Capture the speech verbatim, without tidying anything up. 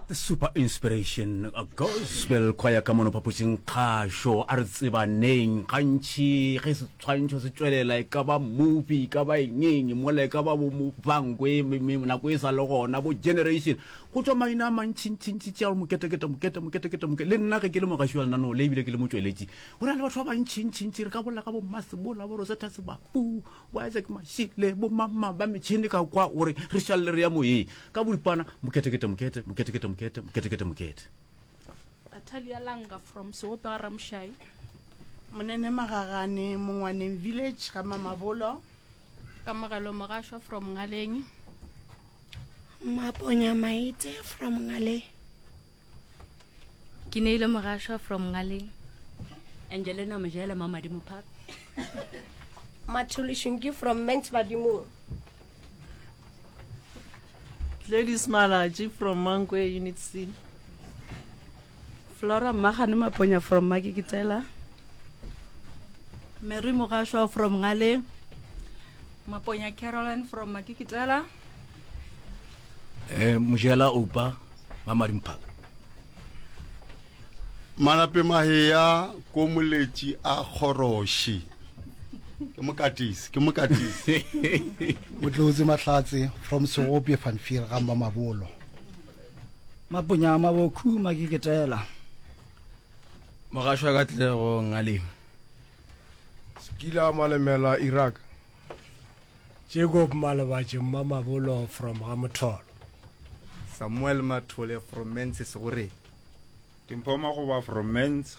The Super Inspiration Gospel Choir ka mono phapošing kgašo a re tsebaneng gantši ge setshwantšho se tšwelela e ka ba movie e ka ba engeng mola e ka ba bo bankwe nako e sa le gona bo generation go tšwa maina a mantšintšintši tša moketekete mokete moketekete moke le nna ge ke le mogaši wa lenaneo le ebile ke le motšweletši go na le batho ba bantšintšintši re ka bolela ka bo masebola bo rosetta sebapu bo isaac mashile bo mama ba metšhene ka kwa gore re šalele re ya moyeng ka boripana moketekete mokete moketekete mokete moketekete mokete Atalia Langa from Seope ga Ramoshai. Monene Magagane Mongwaneng Village ga Mamabolo. Kamogelo Mogasho from Ngaleng. Maponya Maite from Ngaleng. Ke neile Mogasho from Ngaleng. Angelina Mojela Mamadimo Park. Mathole Shunki from Ments Badimong. Gladys Malachi from Mankwe Unit C. Flora Magane Maponya from Makikitela. Mary Mogasho from Ngale. Maponya Caroline from Makikitela. Eh Mojela Oupa Mamadimo Park. Manape Mahea ko moletši a kgoroši. Ke mokatisi, ke mokatisi. Motlotsi Mahlatse from Segopje van Vier ga Mamabolo. Maponya Mabokhu Makiketela. Mogasho Katlego Ngaleng. Skila Malemela Iraq. Jacob Malebatše Mamabolo from Gamotholo. Samuel Mathole from Mense Segoreng. Dimpho Magoba from Mens